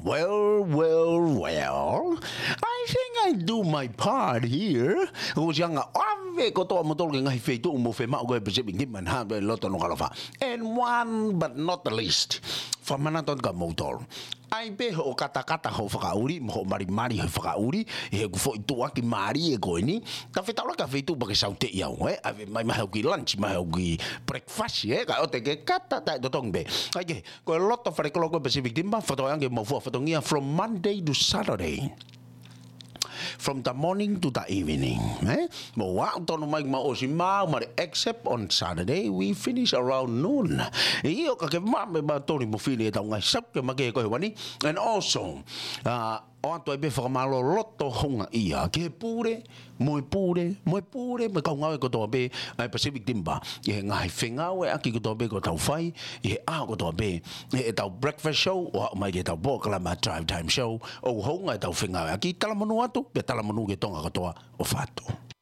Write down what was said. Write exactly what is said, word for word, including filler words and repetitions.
Well, well, well. I think I do my part here. Ko sianga ave kotoa motolo ke ngaahi feituʻu mo femaʻu ko e Pacific Timber ʻi loto Nukuʻalofa. And one but not the least, fakamanatu atu kia moutolu. ʻAi pē hoʻo katakata hoʻo fakaʻuli, mo hoʻo malimali hoʻo fakaʻuli, ʻi heʻeku foʻi tuʻuaki mālie ko eni. Ka fetaulaki ʻa e feituʻu pea ke sauteʻi au, ē? ʻAve mai mahe au ki lunch, mahe au ki breakfast, ē? Ka ʻoua te ke kata, taʻetotongi pē. ʻAi ke, ko e loto fale kolo ko e Pacific Timber, fakatokangaʻi ange mo fua fatongia from Monday to Saturday. From the morning to the evening, ē? Mo aʻu tonu mai mo ʻosi maʻu mali, except on Saturday, we finish around noon. ʻIo, ka ke mame ma toni mo fili e tau ngai sau ke make ko e wani. And also, uh, ʻoatu ai pē fakamālō loto houngaʻia ki he pule, mo e pule, mo e pule, mo e kau ngāue kotoa pē ʻa e Pacific Timber, ʻi he ngaahi fengāueʻaki kotoa pē ko ʻetau fai ʻi he ʻaho kotoa pē, ʻi heʻetau breakfast show, ʻo aʻu mai ki heʻetau polokalama Drive Time Show, ʻoku hounga ʻetau fengāueʻaki. Talamonū atu, pea talamonū ki Tonga kotoa ʻofa atu.